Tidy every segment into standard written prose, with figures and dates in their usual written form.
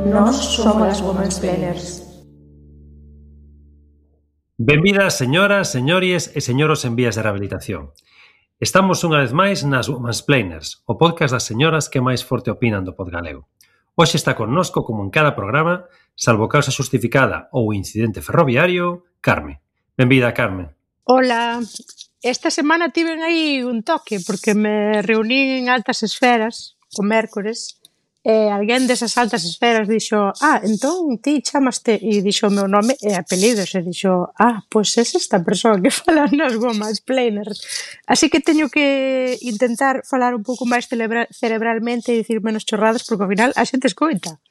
Nós somos as Womansplainers. Benvidas, señoras, señores e señoros en vías de rehabilitación. Estamos unha vez máis nas Womansplainers, o podcast das señoras que máis forte opinan do podgalego. Hoxe está connosco, como en cada programa, salvo causa justificada ou incidente ferroviario, Carme. Benvida, Carme. Hola, esta semana tiven aí un toque porque me reuní en altas esferas o mércores e alguén desas altas esferas dixo entón ti chamaste e dixo o meu nome e apelidos e dixo pois é esta persoa que fala nas Womansplainers. Así que teño que intentar falar un pouco máis cerebralmente e dicir menos chorradas porque ao final a xente escoita.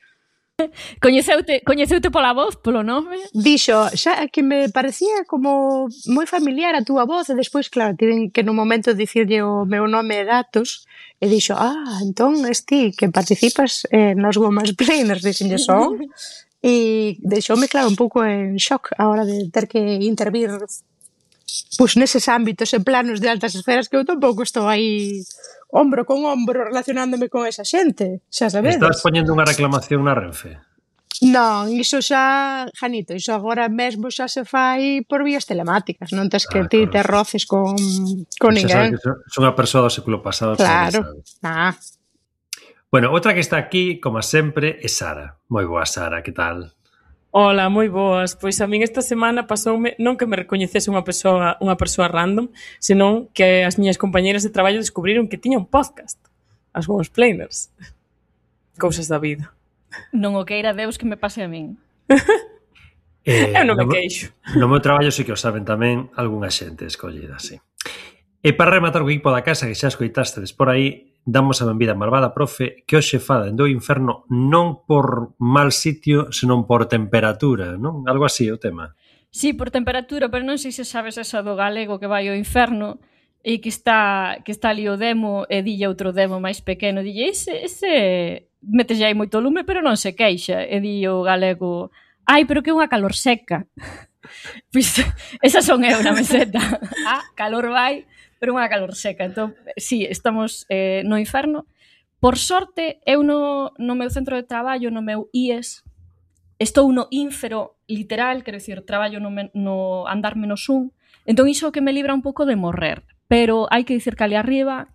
Coñeceute pola voz, polo nome? Dixo, xa que me parecía como moi familiar a túa voz e despois, claro, tiven que no momento dicirlle o meu nome e datos e dixo, entón es ti que participas nos Womansplainers, dixenlle son e deixoume, claro, un pouco en shock a hora de ter que intervir pois neses ámbitos e planos de altas esferas que eu tampouco estou aí ombro con ombro relacionándome con esa xente, xa sabedes. Estás poñendo unha reclamación na Renfe? Non, iso xa, Janito, iso agora mesmo xa se fai por vías telemáticas, non tes que ti te roces con ninguén. Son unha persoa do século pasado. Claro. Bueno, outra que está aquí, como sempre, é Sara. Moi boa, Sara, que tal? Hola, moi boas. Pois a min esta semana pasoume non que me recoñecese unha persoa random, senón que as miñas compañeras de traballo descubriron que tiña un podcast, as Womansplainers. Cousas da vida. Non o queira Deus que me pase a min. Eu non me queixo. No meu traballo sí que o saben tamén algunha xente escollida, sí. E para rematar o equipo da casa que xa escoitastes por aí, damos a benvida a malvada profe que hoxe fa dende o inferno non por mal sitio, senón por temperatura, non? Algo así o tema. Sí, por temperatura, pero non sei se sabes esa do galego que vai ao inferno e que está ali o demo e dille outro demo máis pequeno, dille ese metelle aí moito lume, pero non se queixa, e di o galego, pero que é unha calor seca. Pois esa son eu na meseta. Calor vai, pero unha calor seca. Entón, sí, estamos no inferno. Por sorte, eu no meu centro de traballo, no meu IES, estou no ínfero literal, quero dicir, traballo no andar menos un, entón iso que me libra un pouco de morrer. Pero hai que dicir que ali arriba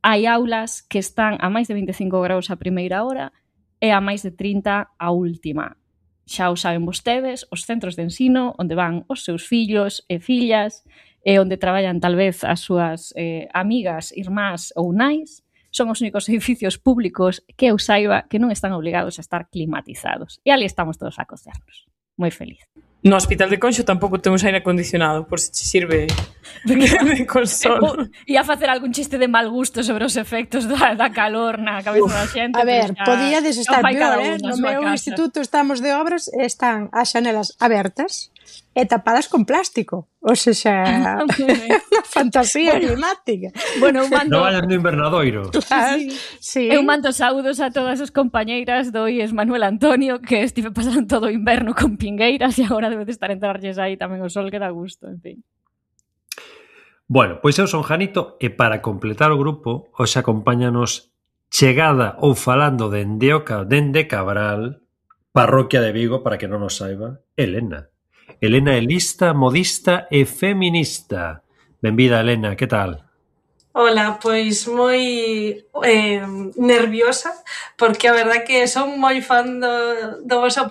hai aulas que están a máis de 25 graus a primeira hora e a máis de 30 a última. Xa o saben vostedes, os centros de ensino onde van os seus fillos e fillas e onde traballan tal vez as súas amigas, irmás ou nais, son os únicos edificios públicos que eu saiba que non están obligados a estar climatizados. E ali estamos todos a cocernos. Moi feliz. No hospital de Conxo tampouco temos aire acondicionado, por se che sirve de consolo. Ia facer algún chiste de mal gusto sobre os efectos da calor na cabeza da xente. A ver, podíades estar peor, no meu instituto estamos de obras e están as xanelas abertas e tapadas con plástico. O sea, unha fantasía climática. Bueno, non vayan no invernadoiro. Sí. Eu mando saúdos a todas as compañeiras do IES Manuel Antonio, que estive pasando todo o inverno con pingueiras e agora debe de estar entrarlles aí tamén o sol que dá gusto, en fin. Bueno, pois eu son Janito e para completar o grupo, hoxe acompáñanos chegada ou falando dende Cabral, parroquia de Vigo, para que non nos saiba, Elena. Elena é lista, modista e feminista. Benvida, Elena, que tal? Hola, pois moi nerviosa porque a verdad que son moi fan do vosso podcast.